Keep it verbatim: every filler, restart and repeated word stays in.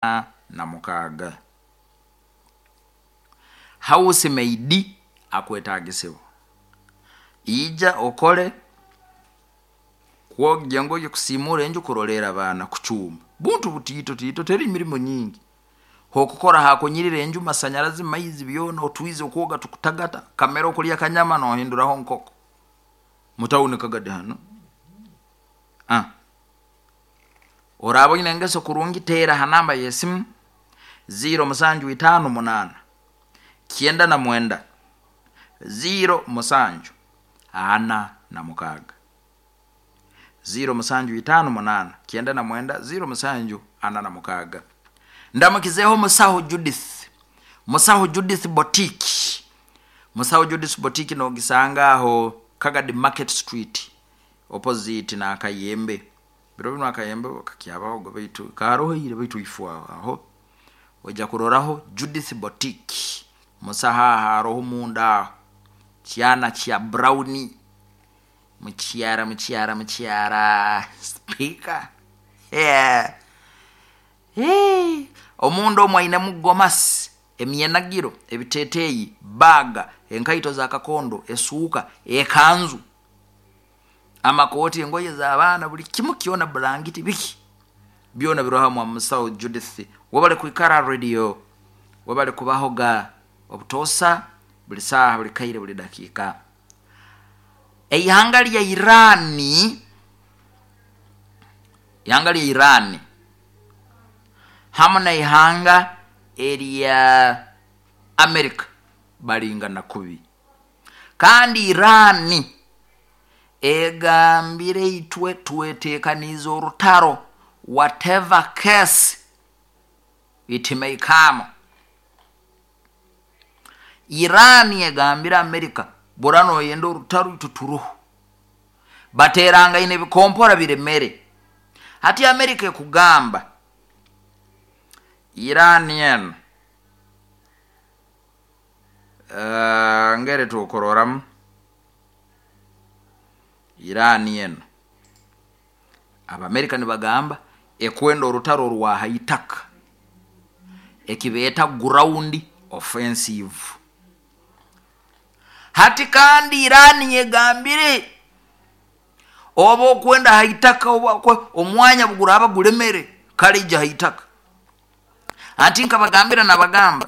Na mukaaga house maid akwetagisibwa, ija okole kwogya engoye, kusiimuura enju, kuroleerra abaana, kucumba, buntu butiito tiito, teri mirimo nyingi, hokukora hakunyirira enju, masanyarazi, maizi, byoona, otwiizi okwoga tukutagata, kamere okulya akanyama nohinduraho nkoko, mu town Kagadi hanu. Oraaba oine engeso kurungi, teera ha namba yesimu ziro musanju itaano munaana kyenda na mwenda ziro musanju ana na mukaaga, ziro musanju itaano munaana kyenda na mwenda ziro musanju ana na mukaaga. Ndamukizeeho musaho Judith, Musaho Judith Boutique. Musaho Judith Boutique nogisanga aho Kagadi Market Street, opposite n'Akayembe. Biro binu Akayembe kakyabahoga, baitu karoho ira, baitu ifo aho ojya kuroraho Judith Boutique. Musaho aho aroho munda aho, kyana kya brown, mukyara mukyara mukyara speaker, yeah. Omunda omu ainemu gomasi, emyenagiro, ebiteteeyi, baaga, enkaito za kakondo, esuuka, ekanzu, amakooti, engoye z'abaana, buli kimu kyoona, bulangiti, biki byoona biroho mwa musaho Judith. Webale kwikara radio, webale kubahoga obutoosa, buli saaha, buli kaire, buli dakiika. Eihanga lya Iran, ihanga lya Iran hamu n'ihanga erya America balingana kubi, kandi Iran egambire itwe twetekaniize orutaro, whatever case it may come. Iran egambire America, bw'oraaba noyenda orutaro itwe turoho, bateerangaine ebikompora biremere. Hati America ekugamba Iran enu, uh, ngeri tukuroramu Iran enu, Abamerika nibagamba ekwenda orutaro orwa haitaka, ekibeeta ground offensive. Hati kandi Iran egambire oba okwenda haitaka, oba omwanya buguraaba gulemere, kale ija haitaka. Ati nkabagambira nabagamba